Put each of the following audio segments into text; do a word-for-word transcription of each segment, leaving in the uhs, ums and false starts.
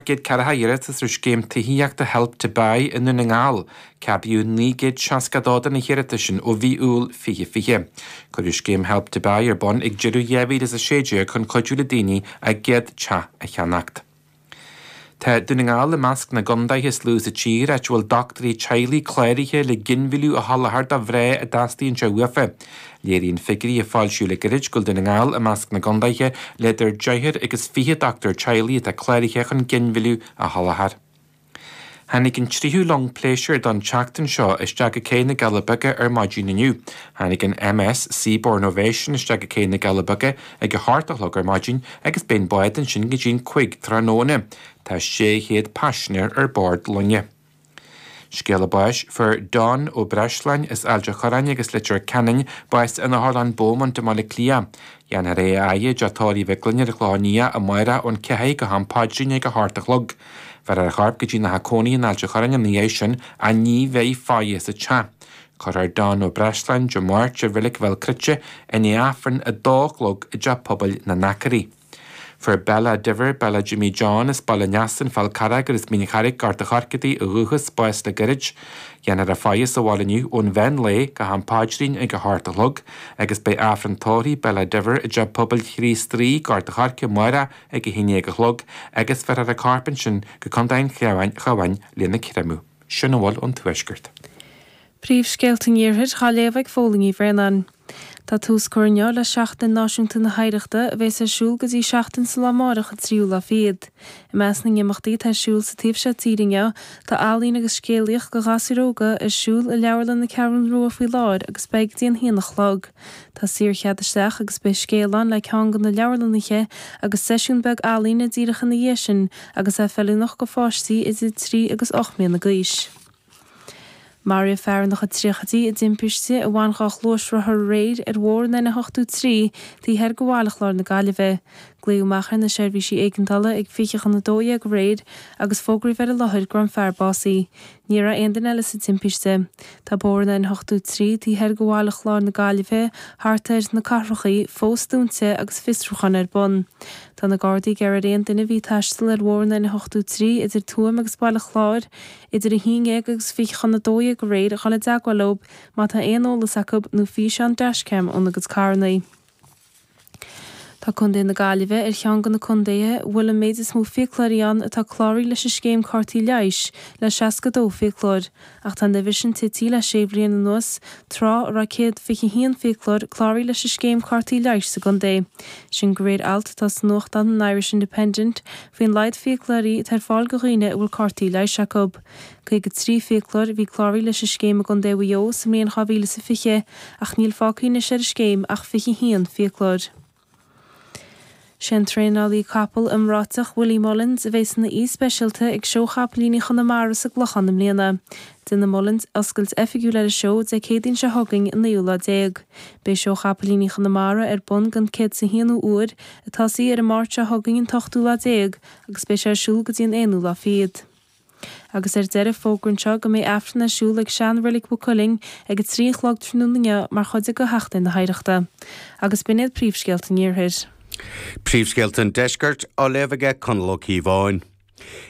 gcéad ceathracha iarratas ar scéim tithíochta Help to Buy i nDún na nGall. Ceadaíodh naoi gcéad seasca a dó de na hiarratais sin ó mhí Iúil fiche fiche. Cuireadh scéim Help to Buy ar bun ag deireadh dhá mhíle is a sé déag chun cuidiú le daoine a gcéad teach a cheannacht. Tá Dún na nGall i measc na gcontaetha is lú sa tír áit a bhfuil dochtúirí teaghlaigh cláraithe le ginmhilleadh a sholáthar do mhná a dteastaíonn sé uafa. Léiríonn figiúirí a foilsíodh le gairid go bhfuil Dún na nGall i measc na gcontaetha le idir deichniúr agus fiche dochtúir teaghlaigh atá cláraithe chun ginmhilleadh a sholáthar. Tháinig an tríú long pléisiúir don tseachtain seo isteach go Cé na Cealla Beaga ar maidin inniu. Tháinig an MS Seabourn Ovation isteach go Cé na Cealla Beaga ag a hocht a chlog ar maidin agus beidh an bád ansin go dtí an cúig tráthnóna. Tá sé chéad paisinéir ar bord loinge. Scéala báis fuair Don Ó Breisleáin as Ailt an Chorráin agus Leitir Ceanainn bás in Otharlann Beaumont i mBaile Átha Cliath. Dhéanfar é a fhaire i dTeach Tórraimh Mhic Gloinn ar an Chlochán Liath amárach ón ceathair go ham paidrín ag a hocht a chlog. Bhéarfar a chorp go dtí ina theach cónaithe in Ailt an Chorráin ina dhiaidh sin ach ní bheidh faire sa teach. Cuirfear Don Ó Breisleáin Dé Máirt i Reilig Bhéal Cruite i ndiaidh Aifreann a dó a chlog i dTeach Pobail na nAcairí. Fuair Bella Diver, Bella Jimmy John as Baile Neasain, Fál Carrach agus Mín Charraig, Gort an Choirce di ó dhúchas, bás le gairid. Dhéanfar a faire sa bhaile inniu ón mheán lae go ham paidrín ag a hocht a chlog, agus beidh Aifreann tórraimh Bella Diver i dTeach Pobail Chríost Rí, Gort an Choirce amárach ag a haon déag a chlog, agus bhéarfar a corp ansin go Contae an Chabháin lena chreamadh. Sin a bhfuil ón Tuaisceart. Príomhscéalta an Iarthair á léamh ag Fódhla Ní Bhraonáin. Tá tús curtha inniu le Seachtain Náisiúnta na hOidhreachta a bheas ar siúl go dtí seachtain sa lá amárach an tríú lá fichead. I measc na n-imeachtaí atá ar siúl sa taobh seo tíre inniu tá ealaín agus scéalaíocht do ghasúir óga ar siúl i Leabharlann na Ceathrún Rua faoi láthair agus beidh go dtí an haon a chlog. Tá saorchead isteach agus beidh scéal ann le ceann de na leabharlannaithe agus seisiún beag ealaíne díreach ina dhiaidh sin agus é feiliúnach do pháistí idir trí agus ocht mbliana d'aois. Maraíodh fear ina chuid tríochaidí i dtimpiste a bhain dhá ghluaisrothar aréir ar bhóthar an N a hochtó trí taobh thoir de Bhaile Chláir na Gaillimhe. Glaodh amach ar na seirbhísí éigeandála ag fiche chun a dó dhéag aréir agus fógraíodh ar an láthair go raibh an fear básaithe. Ní raibh aon duine eile sa timpiste. Tá bóthar an N a hochtó trí taobh thoir de Bhaile Chláir na Gaillimhe thart ar na cathrachaí fós dúnta agus fiosrúchán ar bun. Tá na Gardaí ag iarraidh ar aon duine a bhí ag taisteal ar bhóthar an N a hochtó trí idir Tuaim agus Baile Chláir idir a haon déag agus fiche chun a dó dhéag aréir a dhul i dteagmháil leo má tá aon eolas acu nó físeán dashcam óna gcuid carranna. Tá Contae na Gaillimhe ar cheann de na contaetha a bhfuil an méid is mó fiaclóirí ann atá cláraithe leis an scéim cártaí leighis le seasca dó fiaclóir, ach tá an uimhir sin tite le sé bhliain anuas, tráth a raibh céad fiche haon fiaclóir cláraithe leis an scéim cártaí leighis sa gcontae. Sin de réir alt atá sa nuachtán an Irish Independent faoin laghad fiaclóirí atá ar fáil do dhaoine a bhfuil cártaí leighis acu. Caoga trí fiaclóir a bhí cláraithe leis an scéim i gContae Mhaigh Eo sa mbliain dhá mhíle is a fiche, ach níl fágtha anois ar an scéim ach fiche haon fiaclóir. Sé an traenálaí capall iomráiteach Willie Mullins a bheas ina aoi speisialta ag seó chapaillíní Chonamara sa gClochán i mbliana. Déanfaidh Mullins oscailt oifigiúil ar an seó Dé Céadaoin seo chugainn an naoú lá déag. Beidh seó chapaillíní Chonamara ar bun don céad is a haonú uair ag tosaí ar an Máirt seo chugainn an t-ochtú lá déag agus beidh sé ar siúl go dtí an aonú lá fichead. Agus ar deireadh fógra anseo go mbeidh Aifreann ar siúl ag sean-reilig Mhaigh Cuilinn ag a trí a chlog tráthnóna inniu mar chuid de Sheachtain na hOidhreachta. Agus b'in iad príomhscéalta an Iarthair. Príomhscéalta an Deiscirt á léamh aige Conall Ó Cíobháin.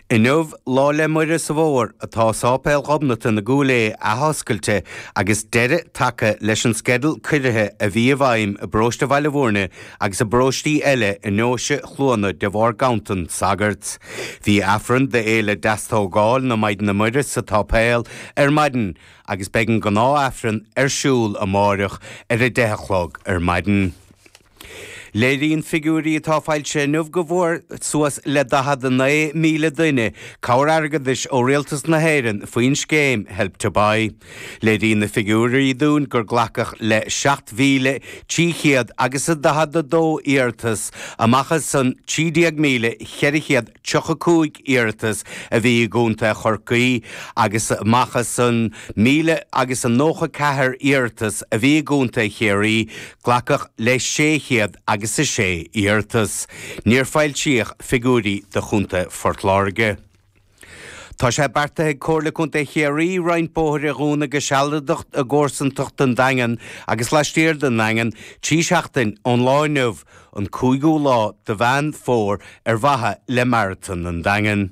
Inniu, Lá 'le Muire sa bhFómhar, atá Sáipéal Ghobnatan i gCúil Aodha athoscailte agus deireadh tagtha leis an sceideal ciorruithe a bhí i bhfeidhm i bparóiste Bhaile Bhúirne agus i bparóistí eile i ndeoise Chluana de bharr ganntan sagart. Bhí Aifreann d'Fhéile Deastógáil na Maighdine Muire sa tsáipéal ar maidin agus beidh an gnáth-Aifreann ar siúl amáireach ar a deich a chlog ar maidin. Léiríonn figiúirí atá foilsithe inniu go bhfuair suas le daichead a naoi míle duine cabhair airgeadais ó Rialtas na hÉireann faoin scéim Help to Buy. Léiríonn na figiúirí dúinn gur glacadh le seacht mhíle trí chéad agus a daichead a dó iarratas amach as an trí déag míle cheithre chéad tríocha cúig iarratas a bhí i gContae Chorcaí agus amach as an míle agus a nócha ceathair iarratas a bhí i gContae Chiarraí, glacadh le sé chéad agus a sé iarratas. Níor foilsíodh figiúirí do Chontae Phort Láirge. Tá sé beartaithe ag Comhairle Contae Chiarraí roinnt bóithre a dhúnadh go sealadach i gcomharsantacht an Daingin agus laistiar den nDaingean trí seachtain ón lá inniu, an cúigiú lá de Mheán Fómhair ar mhaithe le Maratón an Daingin.